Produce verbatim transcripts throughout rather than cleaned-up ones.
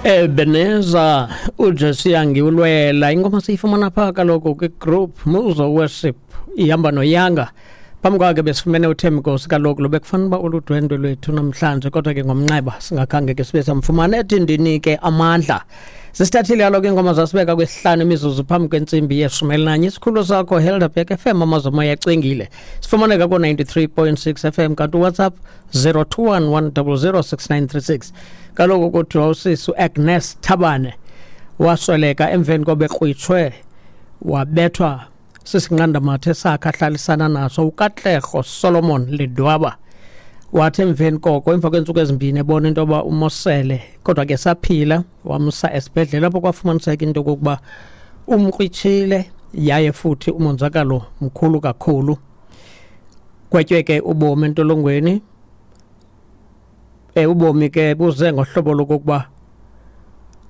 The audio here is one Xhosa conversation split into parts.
Ebenezer uJesu yangiwulwela. Ingoma siyifumana phaa kaloku kwi-group Muzo Worship, ihamba noYanga. Phambi kwakhe besifumene uThembinkosi kaloku lo bekufanele uba uludwendwe lwethu namhlanje, kodwa ke ngomnxeba singakhange ke sibe samfumana. Ethi ndinike amandla. Sisithathile kaloku iingoma zasibeka kwesihlanu imizuzu phambi kwentsimbi yeshumi elinanye. Isikhululo sakho Helderberg F M, amazomoya acwengile. Sifumaneka ko-ninety-three point six F M, kanti uWhatsApp zero two one one zero zero six nine three six. Kaloku kuthiwa usisi uAgnes Thabane wasweleka emveni kobekrwitshwe wabethwa sisinqandamathe sakhe ahlalisana naso uKatlego Solomon Ledwaba. Wathi emveni koko, emva kweentsuku ezimbini, ebona into yoba umosele kodwa ke saphila, wamsa esibhedlele apho kwafumaniseka into yokokuba umkrwitshile yaye futhi umonzakalo mkhulu kakhulu. Gwetywe ke ubomi entolongweni. um ubomi ke buze ngohlobo lokokuba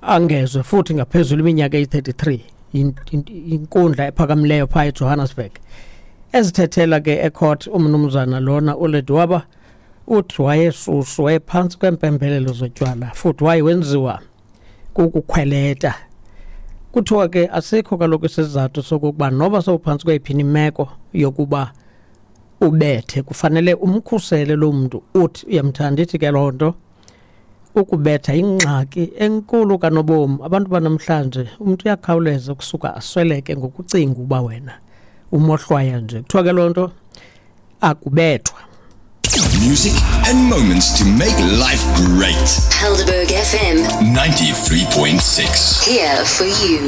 angezwe futhi ngaphezulu iminyaka eyi-thirty-three inkundla ephakamileyo phaa eJohannesburg. Ezithethela ke ecourt umnumzana lona uLedwaba, uthi wayesusu, wayephantsi kweempembelelo zotywala futhi waye wenziwa kukukhweleta. Kuthiwa ke asikho kaloku isizathu sokokuba noba sowuphantsi kweyiphi imeko yokuba ubethe, kufanele umkhusele lo mntu uthi uyamthanda. Ithi ke loo nto ukubetha ingxaki enkulu kanobomi. Abantu banamhlanje, umntu uyakhawuleza ukusuka asweleke ngokucinga uba wena umohlwaya nje. Kuthiwa ke loo nto akubethwa. Music and moments to make life great. Helderberg F M ninety-three point six. Here for you.